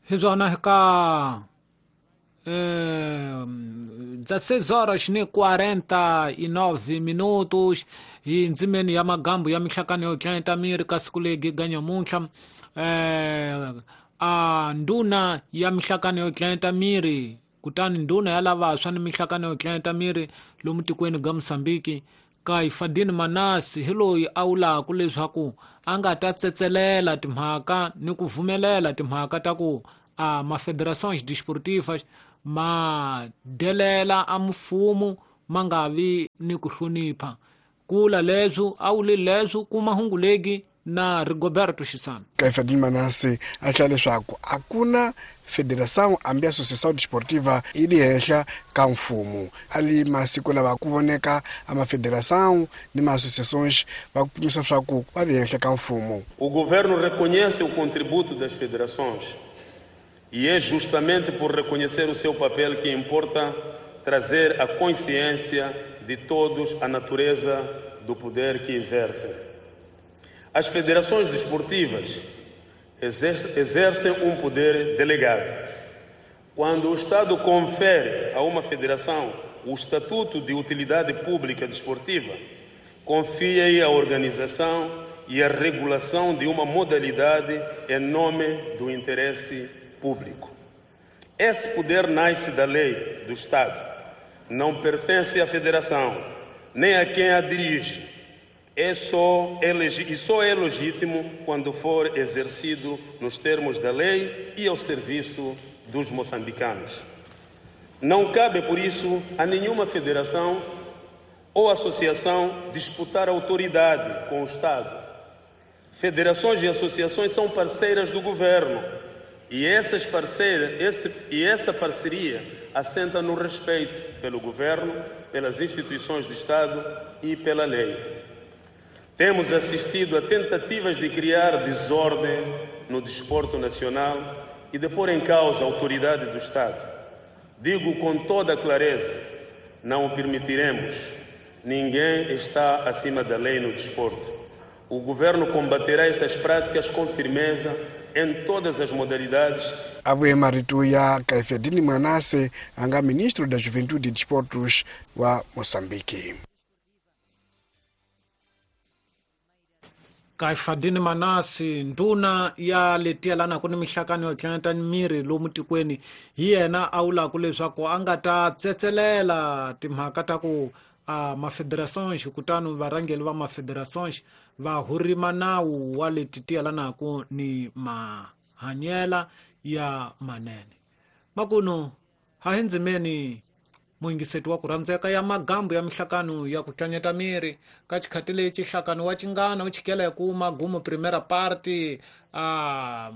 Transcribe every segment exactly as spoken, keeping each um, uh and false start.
Hi swona ka eh, dezesseis horas ni quarenta e nove minutos hi ndzimeni ya magambu ya mihlakano yo tlanyeta miri ka siku legi ga nyamuntlha eh, a nduna ya mihlakano yo tlanyeta miri kutani nduna ya lavantshwa ni mihlakano yo tlanyeta miri lomu tikweni ga Mozambique Caifadine Manase hi loyi a wulaku leswaku a nga ta tsetselela timhaka ni ku vumelela timhaka ta ku a mafederações desportivas ma delela a mfumo ma nga vi ni ku hlonipha kula leswo a wuli leswo kuma hungu legi na Rigoberto Xisana. Caifadine Manase a hlaya leswaku a ku na federação hambi associação desportiva yi li henhla ka mfumo a li masiku lava ku voneka a mafederação ni ma-associações va kumisa swa ku va li henhla ka mfumo. O governo reconhece o contributo das federações e é justamente por reconhecer o seu papel que importa trazer a consciência de todos a natureza do poder que exercem. As federações desportivas exercem um poder delegado. Quando o Estado confere a uma federação o estatuto de utilidade pública desportiva, confia-lhe a organização e a regulação de uma modalidade em nome do interesse público. Esse poder nasce da lei do Estado, não pertence à federação, nem a quem a dirige. É só é e só é legítimo quando for exercido nos termos da lei e ao serviço dos moçambicanos. Não cabe, por isso, a nenhuma federação ou associação disputar autoridade com o Estado. Federações e associações são parceiras do governo e, essas parceiras, esse, e essa parceria assenta no respeito pelo governo, pelas instituições do Estado e pela lei. Temos assistido a tentativas de criar desordem no desporto nacional e de pôr em causa a autoridade do Estado. Digo com toda a clareza, não o permitiremos. Ninguém está acima da lei no desporto. O governo combaterá estas práticas com firmeza em todas as modalidades. A vuye marito ya Caifadine Manase, anga ministro da Juventude e Desportos wa Moçambique. Caifadine Manase, nduna ya letielana ku ni mihlakano yo tlanyeta miri lomu tikweni hi yena a wulaku leswaku a nga ta tsetselela timhaka ta ku a mafederações kutani varhangeri va mafederações va hurima nawu wa leti tiyelanaku ni mahanyela ya manene. Makuno ha hi ndzimeni muyingiseti wa ku rhandzeka ya magambu ya mihlakano ya ku tlanyeta miri ka xikhati lexi nhlakano wa Chingana wu chikela hi ku magumu primera parte a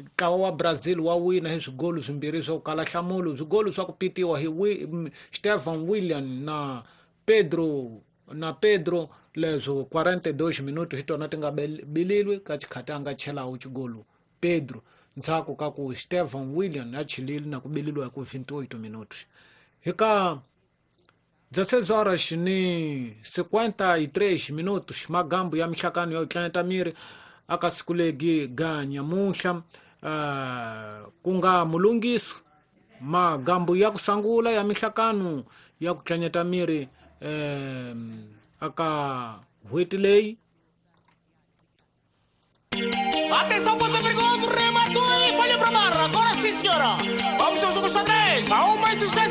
ntlawa wa Brazil wa wina hi swigolu swimbirhi swo kala nhlamulo swigolu swa ku pitiwa hi Stefan William na Pedro na Pedro leswo quarenta e dois minutos hi tona ti nga bililwi ka xikhati a nga chelawu xigolu Pedro ndzhaku ka ku Stefan William a chilile na ku bililiwa hi ku vinte e oito minutos. Hi ka dezesseis horas ni cinquenta e três minutos magambu ya mihlakano yo tlanyeta miri aka siku legi ga nyamuntlha uh, ku nga mulungisi magambu ya ku sangula ya mihlakano ya ku tlanyeta miri eh, aka n'hweti leyi. Atenção, você perigoso, rematou e falha para barra. Agora sim, senhora. Vamos ao jogo xadrez. Há uma existência.